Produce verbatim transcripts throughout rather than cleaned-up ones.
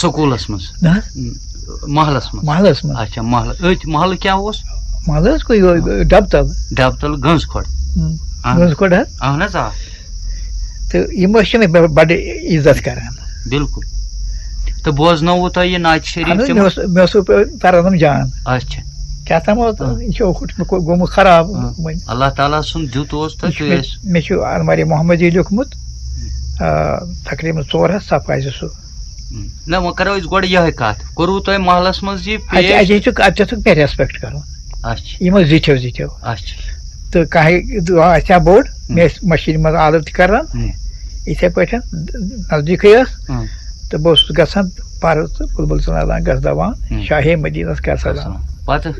سکوٗلس منٛز؟ نہ حظ، محلس منٛز؟ محلس منٛز۔ اچھا، محلہٕ، أتھۍ محلہٕ کیٛاہ اوس؟ محلہٕ حظ گوٚو یہِ ڈبتل۔ ڈبتل گٔنٛز کھۄڈ۔ ہم، اہن۔ گٔنٛز کھۄڈ حظ۔ اہن حظ، آ۔ تہٕ یِم ٲسۍ مےٚ بڑٕ عزت کران۔ بِلکُل۔ تہٕ بوزنووُ تۄہہِ یہِ نعتِ شریٖف اہن حظ، تِم؟ مےٚ اوس مےٚ اوس تران جان۔ اچھا۔ کیٛاہ تام اوس، یہِ چھُ اوکُن گوٚمُت خراب۔ آ۔ وۄنۍ اللہ تعالیٰ سُنٛد دیُت اوس تہٕ یہِ چھُ تُہۍ مےٚ ٲسۍ۔ مےٚ چھُ المارِ محمدی لیوٚکھمُت، آ، تقریٖباً ژور ہتھ صفحہٕ آسہِ سُہ۔ نہ، وۄنۍ کرو أسۍ گۄڈٕ یِہے کتھ۔ کوٚروٕ تۄہہِ محلس منٛز یہِ اتہِ پیش؟ اتہِ چھُ اتہِ چھُ مےٚ ریسپیکٹ کرُن۔ اچھا۔ یِمو زِٹھیو زِٹھیو۔ اچھا۔ تہٕ کانٛہہ دُعا آسہِ ہا بوٚڑ، مےٚ ٲسۍ مٔشیٖد منٛز آلو تہِ کران۔ ہم۔ یِتھے پٲٹھۍ نزدیٖکٕے ٲس۔ ہم۔ تہٕ بہٕ اوسُس گژھان پرٕ تہٕ بُلبُل ژٕنان گژھٕ دپان، ہم۔ شاہے مدینس کر سلام۔ پتہٕ؟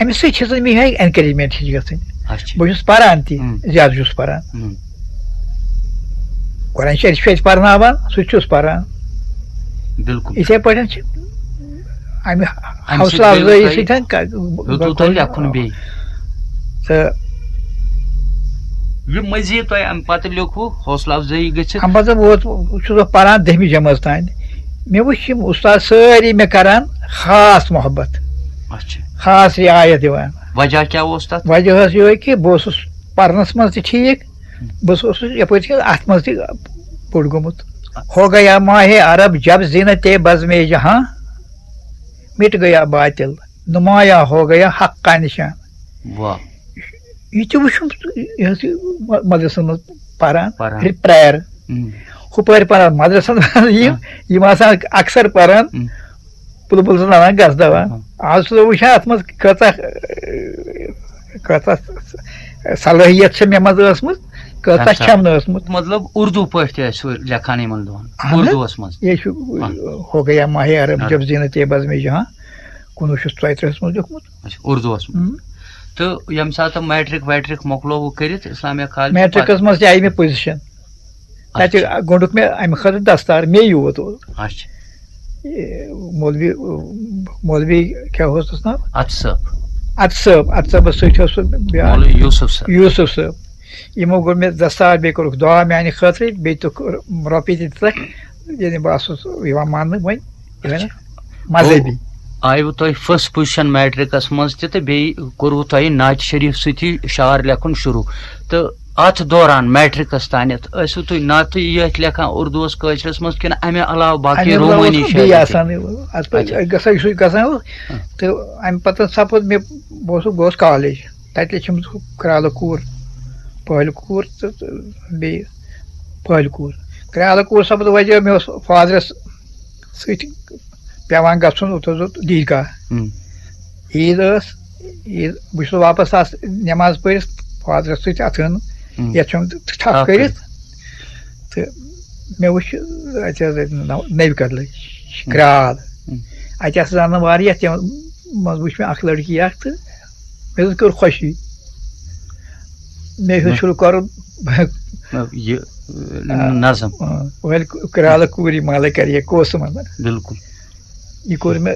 امہِ سۭتۍ چھِ مےٚ یِہے اینکریجمنٹ ہِش گژھٕنۍ۔ اچھا۔ بہٕ چھُس پران تہِ، ہم۔ زیادٕ چھُس پران۔ ہم۔ قرآن شریف چھُ اَسہِ پرناوان، سُہ تہِ چھُس پران۔ بِلکُل۔ یِتھے پٲٹھۍ چھِ امہِ امہِ حوصلہٕ سۭتۍ گٔیوٕ افزٲیی تۄہہِ، سۭتۍ کا- ہیوٚتوٕ تۄہہِ لیکھُن بیٚیہِ۔ تہٕ یہِ مٔزیٖد تۄہہِ امہِ پتہٕ لیوٚکھوٕ حوصلہٕ افزٲیی گٔژھِتھ؟ امہِ پتہٕ ووت چھُس بہٕ پران دٔہمہِ جمٲژ تام۔ مےٚ وٕچھ یِم استاد سٲری مےٚ کران خاص محبت، اچھا۔ خاص رعایت دِوان۔ وجہ کیٛاہ اوس تتھ؟ وجہ اوس یِہوٚے کہِ بہٕ اوسُس پرنس منٛز تہِ ٹھیٖک، بہٕ اوسُس یپٲرۍ کہِ اتھ منٛز تہِ بوٚڑ گوٚمُت۔ ہو گیا ماہِ عرب جب زینت بزم جہاں، مٹ گیا باطل، نمایاں ہو گیا حق کا نشان۔ واہ۔ یہِ تہِ وٕچھُم، یہِ حظ یہِ م- مدرسن منٛز پران، پران۔ ییٚلہِ پریر ہم۔ ہُپٲرۍ پران مدرسن منٛز یِم ہاں۔ یِم آسان اکثر پران، ہم۔ بُلبُل سُنٛد ناو گژھ دوا۔ ہم۔ آز چھُس بہٕ وٕچھان اتھ منٛز کۭژاہ کۭژاہ صلٲحیت چھےٚ مےٚ منٛز ٲسمٕژ، کۭژاہ اچھا۔ چھَم نہٕ ٲسمٕژ۔ مطلب اردو پٲٹھۍ تہِ ٲسۍ لیکھان یِمن دۄہن؟ اہن حظ۔ اردوس منٛز؟ یہ چھُ ہاں۔ ہو گیا ماہِ عرب ہاں۔ جب زینت بزم جہاں، کُنوُہ شیٚتھ ژۄیہِ ترٕٛہس منٛز لیوٚکھمُت۔ اچھا، اردوس منٛز۔ ہم۔ تہٕ ییٚمہِ ساتہٕ میٹرک ویٹرک مۄکلووُ کٔرِتھ اسلامیا کالج؟ میٹرکس منٛز تہِ آیہِ مےٚ پوزیشن۔ تتہِ اچھا۔ گوٚنڈُکھ مےٚ امہِ خٲطرٕ دستار، مے یوت اوس۔ اچھا۔ یہِ مولوی، مولوی کیٛاہ اوس تس ناو؟ عطا صٲب۔ عطا صٲب، عطا صٲبس سۭتۍ اوس سُہ بیٛاکھ مولوی یوسف صٲب۔ یوسف صٲب۔ یِمو کوٚر مےٚ دستار، بیٚیہِ کوٚرُکھ دعا میانہِ خٲطرٕ، بیٚیہِ تُکھ رۄپیہِ تہِ دِژکھ، یعنی بہٕ آسُس یِوان ماننہٕ وۄنۍ، یہِ وَنان مذہبی۔ آیوٕ تۄہہِ فرسٹ پوزیشن میٹرکس منٛز تہِ تہٕ بیٚیہِ کوٚروٕ تۄہہِ نعتِ شریٖف سۭتی شعر لیکھُن شروٗع، تہٕ اتھ دوران میٹرکس تانٮ۪تھ ٲسوٕ تُہۍ نعتہٕ یٲتۍ لیکھان اردوس کٲشرس منٛز کِنہٕ امہِ علاوٕ باقٕے اَمہِ علاوٕ رومٲنی اوسُس شٲعری بیٚیہِ تہِ؟ آسان، اتھ پٮ۪ٹھ اچھا۔ گژھان، یُس یہِ گژھان اوس، ہاں۔ تہٕ امہِ پتہٕ سپُد مےٚ، بہٕ اوسُس، گوس کالیج، تتہِ لیٚچھِم کرالہٕ کوٗر، پٲلۍ کوٗر تہٕ، تہٕ بیٚیہِ پٲلۍ کوٗر۔ کرالہٕ کوٗر سپُد وجہ، مےٚ اوس فادرس سۭتۍ پٮ۪وان گژھُن، اوٚت اوس دیٖدگاہ۔ ہم۔ عیٖد ٲس، عیٖد، بہٕ چھُس واپس آس نٮ۪ماز پٔرِتھ فادرس سۭتۍ اَتھٕ ہن، ہم۔ یَتھ چھُم تھپھ تھپھ کٔرِتھ۔ کٔرِتھ۔ تہٕ مےٚ وٕچھ اَتہِ حظ اَتہِ نو- نٔوۍ کدلہٕ، ہم۔ کرٛال۔ ہم۔ اَتہِ آسہٕ زنانہٕ واریاہ، تِمن منٛز وٕچھ مےٚ اکھ لڑکی اکھ، تہٕ مےٚ حظ کٔر خۄشی۔ مےٚ ہیوٚت نہ۔ شروٗع کَرُن۔ نہ، یہِ، آ، نظم۔ آ، وۄنۍ کرٛالہٕ کوٗری مالے کَرِ ہے کوسہٕ منٛز۔ بِلکُل۔ یہِ کوٚر مےٚ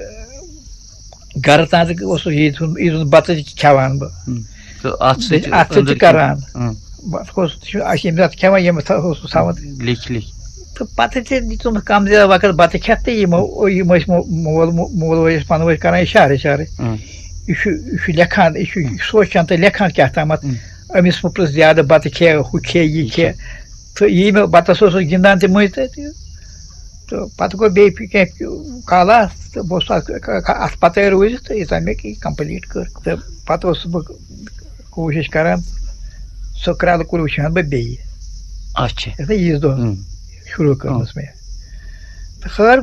گرٕ تام تہِ اوسُس عیٖد ہُنٛد، عیٖد ہُنٛد بَتہٕ تہِ کھٮ۪وان بہٕ۔ ہُم۔ تہٕ اَتھ سۭتۍ بیٚیہِ اَتھ سۭتۍ تہِ أنٛدٕرۍ کِنۍ۔ کَران۔ ہُم۔ بَتہٕ اوسُس، یہِ چھُ اَسہِ ییٚمہِ ساتہٕ کھٮ۪وان، ییٚمہِ ساتہٕ اوسُس تھاوان۔ لیٚکھۍ لیٚکھۍ۔ تہٕ پَتہٕ تہِ دِژمَس کَم زیادٕ وقت بَتہٕ کھٮ۪تھ تہٕ یِمو، یِم ٲسۍ مو-، مول، مو-، مول ٲسۍ پانہٕ ؤنۍ کَران اِشارٕ اِشارٕ۔ ہُم۔ یہِ چھُ، یہِ چھُ لیکھان، یہِ چھُ سونٛچان تہٕ لیکھان کیٛاہ تامَتھ۔ ہُم۔ أمِس مہٕ پرٛژھ زیادٕ، بَتہٕ کھے، ہُہ کھے، یہِ یہِ کھے۔ کھے۔ تہٕ یی مےٚ بَتَس اوسُس گِنٛدان تہِ مٔنٛزۍ تہٕ تہٕ پَتہٕ گوٚو بیٚیہِ کینٛہہ کالا تہٕ بہٕ اوسُس اَتھ، اَتھ پَتَے روٗزِتھ تہٕ ییٖژاہ مےٚ یہِ کَمپٕلیٖٹ کٔر۔ تہٕ پَتہٕ اوسُس بہٕ کوٗشِش کَران، سُہ کرٛالہٕ کوٗر وٕچھِ ہا بہٕ بیٚیہِ۔ اچھا۔ یَتھ نہ ییٖژ دۄہ ہُم۔ شروٗع کٔرمٕژ ہُم۔ مےٚ۔ تہٕ خٲر،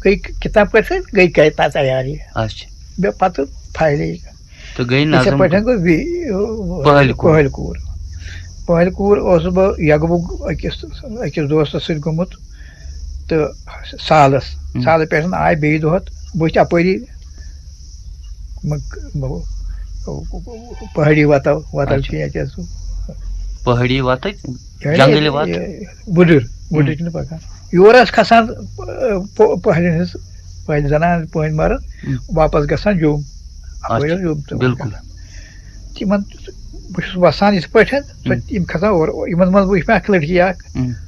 گٔے کِتاب پٔرِتھ گٔے گَرِ تَتھ تیار یہِ۔ اچھا۔ مےٚ پَتہٕ فاینٔلی تہٕ گٔے یِتھَے نظم پٲٹھۍ گوٚو وی-، پہلۍ کوٗر۔ پہلۍ کوٗر۔ پہلۍ کوٗر اوسُس بہٕ یَگبُگ أکِس، أکِس دوستَس سۭتۍ گوٚمُت تہٕ سالَس، ہُم۔ سالہٕ پٮ۪ٹھ آے بیٚیہِ دۄہ، بہٕ چھُس اَپٲری، م-، م-، پہٲڑی وَتَو، وَتَو اچھا۔ چھِ ییٚتہِ حظ۔ پہٲڑی وَتہٕ، یعنی جنٛگلہِ وَتہٕ؟ یہِ وُڈٕر، وُڈٕر ہُم۔ چھِنہٕ پَکان۔ یور ٲس کھسان، پ-، پ-، پہلٮ۪ن ہٕنٛز، پہلۍ زنان، پہلۍ مَرٕد، ہُم۔ واپَس گژھان جوٚم۔ اَپٲرۍ اچھا۔ اوس جوٚم تہٕ بِلکُل۔ وَسان۔ تِمَن، بہٕ چھُس وَسان یِتھ پٲٹھۍ، سۄ، ہُم۔ یِم کھسان اورٕ، یِمَن منٛز وٕچھ مےٚ اَکھ لٔڑکی اَکھ، ہُم۔